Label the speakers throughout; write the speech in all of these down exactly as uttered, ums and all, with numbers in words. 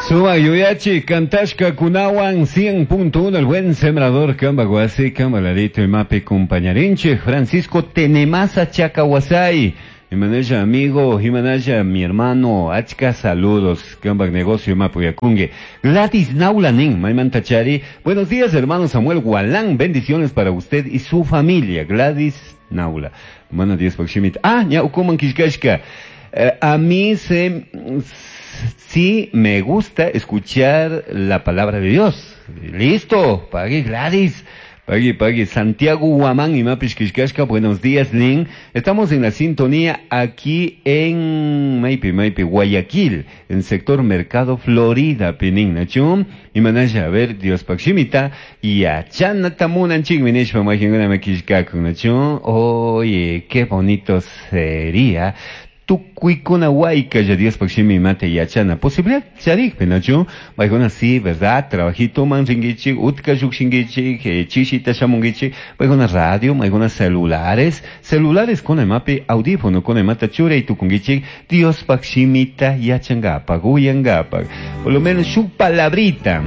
Speaker 1: Suma yuyachi kantashka kunawan cien punto uno el buen sembrador Kambaguasi Kamaladito Imapi compañarinche Francisco Tenemasa Chacahuasay. Imanaya amigo, Imanaya mi hermano, achka saludos, Kambak negocio Mapuyacungue. Gladys Naulanin, Maimantachari. Buenos días, hermano Samuel Gualán, bendiciones para usted y su familia. Gladys Naula. Buenos días, Pakshimit. Ah, ya ukuman kishkashka. Eh, a mí se, sí me gusta escuchar la palabra de Dios. Listo, pague Gladys. Pagui, pagui, Santiago Huamán y Mapish Kishkashka, buenos días, Lin. Estamos en la sintonía aquí en Maipi, Maipi, Guayaquil, en sector Mercado Florida, Pinin, Nachum. Y manaya, a ver, Dios Pakshimita, y achana tamunan chingminishpa, majinguna makishkakun, Nachum. Oye, qué bonito sería. Tukuikuna huayca ya Dios pakshimi mate yachana. Posibilidad charik penachu. Baigona sí, verdad, trabajito man ringichi, utka yukshingichi, chishita shamungichi, baigona radio, baigona celulares, celulares con mapi audífono con mata chure y tukungichi, Dios pakshimita yachangapa, guyangapa. Por lo menos su palabrita.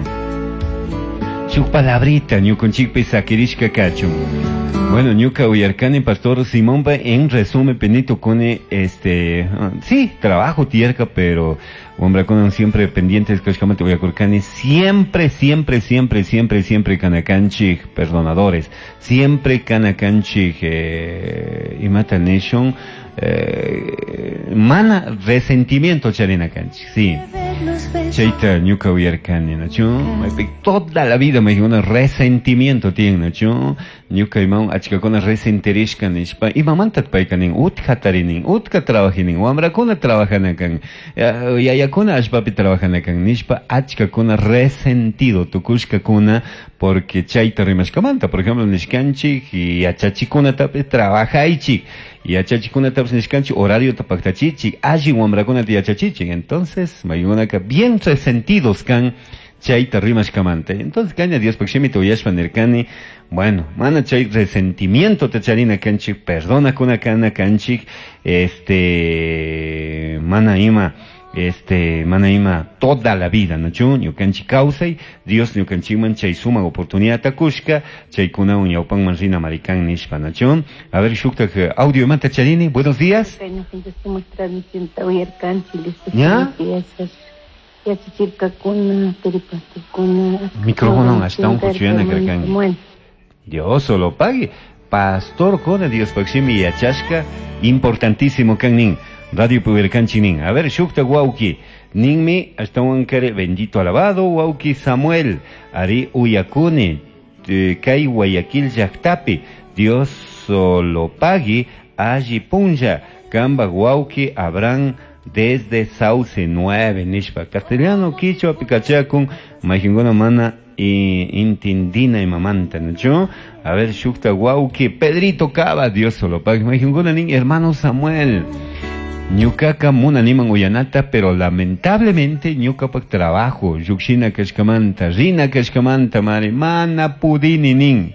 Speaker 1: Su palabrita, ñukunchikpi sakirishka kachun. Bueno, ñuka uyarkani pastor Simón en resumen penito con este, sí, trabajo tierca, pero hombre con siempre pendientes kashkamante uyarkani siempre, siempre, siempre, siempre, siempre kanakanchik perdonadores, siempre kanakanchik eh, imata nation eh, mana resentimiento charina kanchik, sí. Chaita ñuka uyarkani nachu, toda la vida me dijo un resentimiento tiene nachu, ñuka imam achkakuna resentirishka nishpa imamantat paykanin utka tarinin utka trabajinin wamrakuna trabajanakan yayakuna allpapi trabajanakan nishpa achkakuna resentido tukushkakuna porque chayta rimashkamanta por ejemplo nishkanchik yachachikunatapis trabajaychik yachachikunatapis nishkanchik horario tapaktachichik alli wamrakunata yachachichik entonces maykunaka bien resentidos kan chayta rimashkamanta entonces kaña Dios pakshimita uyashpa nirkani bueno, mana chay resentimiento te charina kanchik, perdona kuna kana kanchik, este, mana ima, este, mana ima toda la vida, nachu, ñukanchik kawsay, Dios ñukanchikman chay suma oportunidad takushka, chay kuna uñawpanman rina marikan nishpa, nachu. A ver, shuktak audio manta charini, buenos días. ¿Ya? Micrófono hasta un cuchillana carcan. Dios solo pague. Pastor con Dios pakshimi yachashka, importantísimo kan Radio Puberkanchi nin. A ver, shukta wauki. Ninmi hasta un kare bendito alabado wauki Samuel. Ari uyakuni kay Guayaquil llaqtapi. Dios solo pague. Alli punlla. Kamba wauki Abraham desde Sauce nueve nishpa. Castellano quichua pikachakun majingona mana y intindina y mamanta, ¿no? A ver, shukta wauki, Pedrito Cava, Dios solo pague. Majingona nin hermano Samuel. Ñukaka munaniman uyanata, pero lamentablemente ñukapak trabajo, yukshina kashkamanta, rina kashkamanta, mari, mana pudini nin.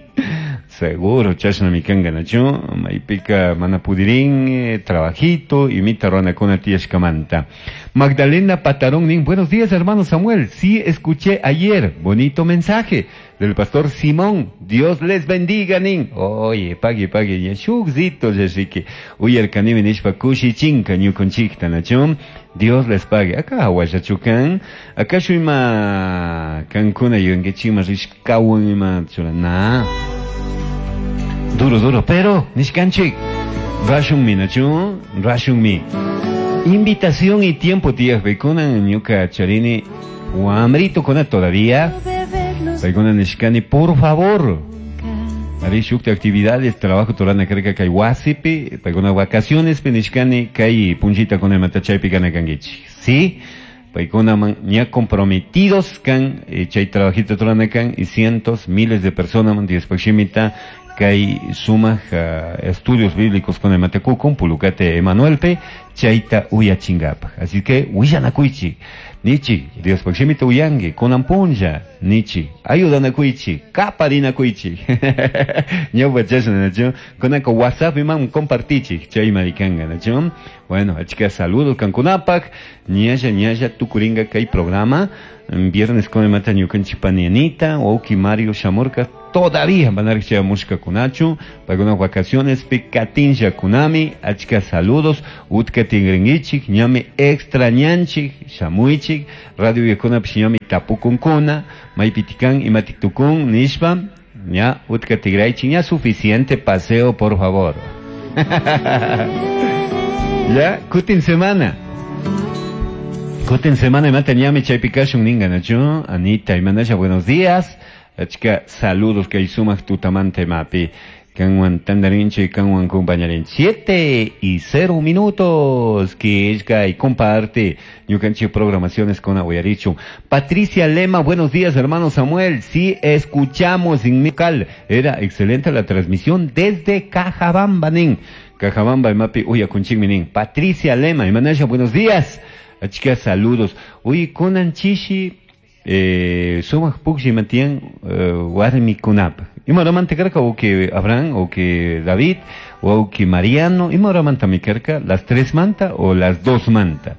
Speaker 1: Seguro, chashna mikanga nachu, maipika mana pudirín, eh, trabajito, y mita ruana kuna tiyashkamanta. Magdalena Patarón nin, buenos días hermano Samuel, sí escuché ayer, bonito mensaje del pastor Simón, Dios les bendiga nin. Oye, pague, pague, ya shukzito yashiki, uyarkanimi nishpa kushichinka ñukunchikta nachu, Dios les pague. Acá aguayachukan, acá shuima kankuna yunguechima rishkawan ima churana. Duro, duro, pero nishkanchik, rashun mi nachu, rashun mi. Invitación y tiempo, tías, bekunan ñuka charini, wamrito kona todavía. Bekunan nishkani, por favor. Ari shukta actividades, trabajo torana kreka kay wasipi, paykuna vacaciones nishkani kay punchita con el matachaypi kana kangichi. Sí, paykuna man ña comprometidos kan, chay trabajito torana kan, y cientos, miles de personas man Dios pakshimita, kay sumaj uh, estudios bíblicos con el Matecukun, Pulucate Emanuelpe, Chayta uyachingapaj. Así que willanakuychik, nichi, Diospaj shimita uyangi, kunan punlla, nichi, ayudanakuychik, kaparinakuychik. Ñawpa chashna, nachu, kunanka WhatsApp iman compartichik, chay marikanga, nachu. Bueno, achka saludos kankunapak, ñalla ñalla tukuringa kay programa, viernes con mata ñukanchik pani Anita, wauki Mario shamurka, todavía van a chayamushkakunachu, paykuna vacaciones pi katinlla kunami, achka saludos, utka tigringichik, ñami extrañanchik, shamuychik, radio yakunapish ñami tapukunkuna, maypitikan imatiktukun, nishpa, ña utka tigraychik, ña suficiente paseo, por favor. Ya, kutin semana. Kutin semana imata ñami chaypi kashun ninga, nachu, Anita imanasha, buenos días. Achka saludos kay sumak tutamanta imapi. Kanwan tandarinche, kanwan compañarinche. Siete y cero minutos. Que y comparte. Ñukanchik programaciones con Aguayarichu. Patricia Lema, buenos días, hermano Samuel. Sí, escuchamos en mi cal. Era excelente la transmisión desde Cajabamba, nin. Cajabamba, imapi, uya kunchikmi, nin. Patricia Lema, imanasha, buenos días. Achka saludos. Uy, kunan chishi, eh, sumak pukshi matian, eh, warmikunap. Imaramanta karka o que Abraham o que David o que Mariano, imaramanta mi karka, las tres manta o las dos manta.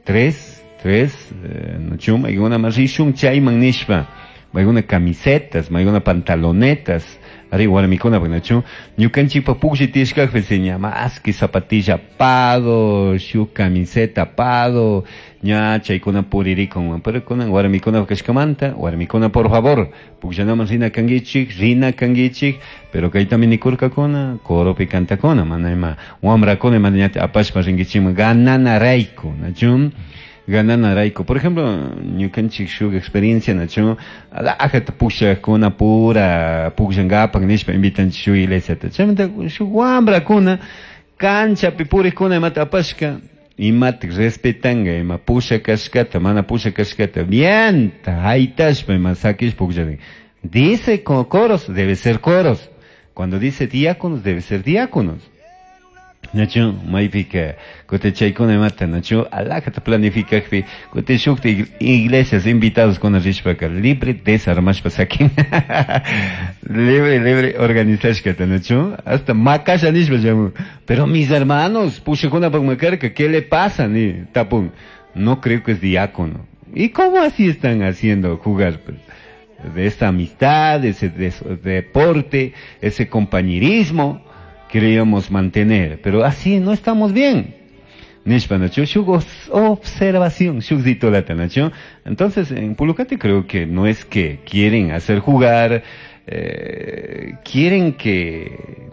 Speaker 1: Tres, tres, eh, no chum, mayguna marishun chayman nishpa, mayguna camisetas, mayguna pantalonetas, ari warmikuna nachu, ñukanchikpa pukshi tiyashkakpi seña más que zapatilla pado, shuk camiseta pado, ña chaykuna puririkun, pero kunan warmikuna kashkamanta, warmikuna por favor, pukllanaman rina kankichik, rina kankichik, pero kaytami nikurkakuna, coropi kantakuna, mana ima wamrakuna ima ñata apashpa rinkichikman ganana rayku, nachu, ganana rayku. Por ejemplo, ñukanchik shuk experiencia, nachu, alajata pukllakuna pura pukllankapak nishpa invitanchik shuk iglesiata, chaymanta shuk wamrakuna canchapi purikkuna imata apashka, imatik respetanga, ima pusha kashkata, mana pusha kashkata, bien, haytashpa ima sakish pukllarin. Dice con coros, debe ser coros. Cuando dice diáconos, debe ser diáconos. Nachu, maypika, kuti chaykuna imata, nachu, alajata planifikakpi, kuti shukta iglesias invitados con rishpaka, libre desarmashpa sakin. Libre, libre organizashkata, nachu, hasta makasha nishpa llamu. Pero mis hermanos, pushakuna makarka, ¿qué le pasa? Ni tapun. No creo que es diácono. ¿Y cómo así están haciendo jugar? Pues, de esta amistad, ese de, deporte, ese compañerismo queríamos mantener, pero así no estamos bien. Nishpa, nachu, shuk observación, shuk zitolata, nachu. Entonces, en Pulucate creo que no es que quieren hacer jugar, eh, quieren que,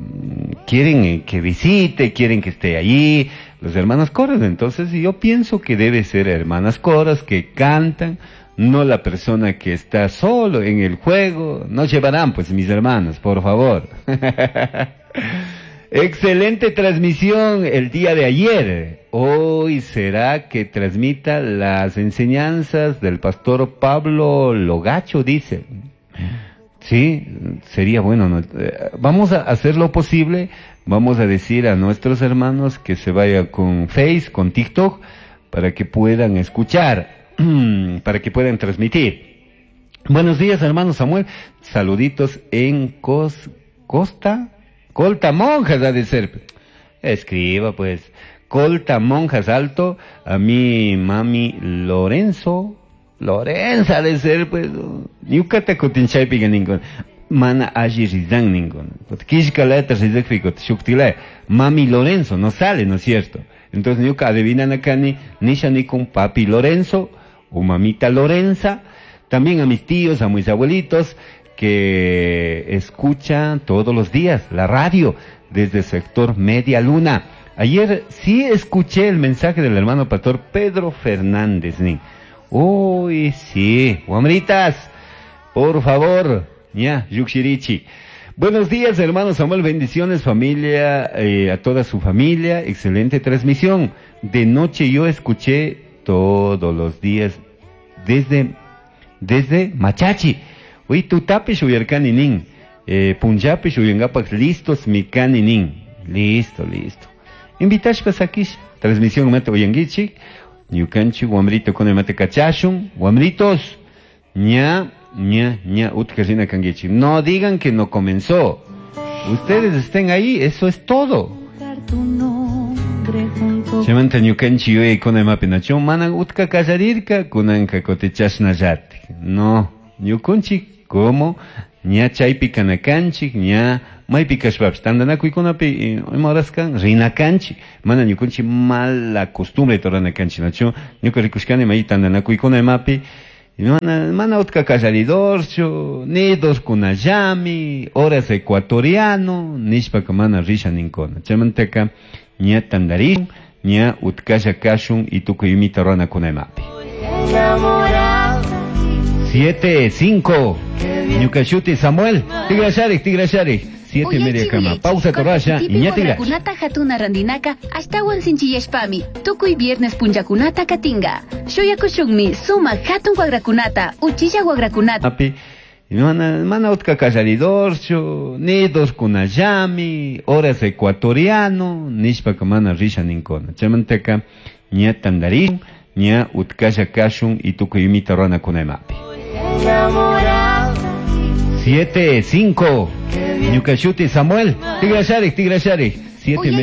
Speaker 1: quieren que visite, quieren que esté allí, los hermanos coros. Entonces, yo pienso que debe ser hermanas coros que cantan, no la persona que está solo en el juego. No llevarán, pues, mis hermanos, por favor. Excelente transmisión el día de ayer. Hoy será que transmita las enseñanzas del pastor Pablo Logacho, dice. Sí, sería bueno, ¿no? Vamos a hacer lo posible. Vamos a decir a nuestros hermanos que se vaya con Face, con TikTok, para que puedan escuchar, para que puedan transmitir. Buenos días, hermano Samuel. Saluditos en Cos, Costa, Colta Monjas ha de ser. Escriba, pues. Colta Monjas Alto, a mi mami Lorenzo. Lorenza ha de ser, pues. Ñukata kutinchaypiga ninkuna. Mana alli rizan ninkuna. Kishkalata rizakpi shuktila. Mami Lorenzo, no sale, ¿no es cierto? Entonces ñuka adivinan acá ni, nisha ni con papi Lorenzo o mamita Lorenza. También a mis tíos, a mis abuelitos que escuchan todos los días la radio desde el sector Media Luna. Ayer sí escuché el mensaje del hermano pastor Pedro Fernández. Ni. Uy, sí. Guamritas, por favor. Ya, Yuxirichi. Buenos días, hermano Samuel. Bendiciones, familia, eh, a toda su familia. Excelente transmisión. De noche yo escuché todos los días desde, desde Machachi. Uy, tutapish uyarkani nin. Eh, punllapish uyangapak listos mikani nin. Listo, listo. Invitashpa sakish transmisión mata uyanguichik ñukanchik wamrito kuna mata kachashun wamritos ña ña ña utka rina kanguichik. No digan que no comenzó. Ustedes estén ahí, eso es todo. Chaymanta ñukanchik yuyaykuna imapi nachu mana utka kallarirka kunanka kutichashnallatik. No, ñukunchik como ña chaypi kanakanchik ña maypi kashpapish tantanakuykunapi ima horas kan rina kanchik mana ñukunchik mala costumbre rurana kanchik nachu ñuka rikushkani may tantanakuykuna imapi mana mana utka kallaridorchu nidorkunallami horas ecuatoriano nishpaka mana risha ninkuna chaymantaka ña tantarishun ña utkalla kashun y tukuy imita ruranakuna imapi. Siete, cinco. Ñukashuti Samuel. Tigrasharik, tigrasharik. Siete y media cama. Pausa torrasha y ña tigrash.
Speaker 2: Kunata hatuna randinaka ashtawan sinchiyashpami tukuy viernes punllakunata katinga. Shuyakushunmi sumak hatun wagrakunata, uchilla wagrakunata.
Speaker 1: Api, mana, mana utka kallaridorchu, nidorkunallami, horas ecuatoriano, nishpaka mana risha ninkuna. Chaymantaka ña tantarishun, ña utkalla kashun y tukuy imita ruranakuna imapi. Siete, cinco. Ñukashuti Samuel. Tigrasharik, tigrasharik. Siete y media.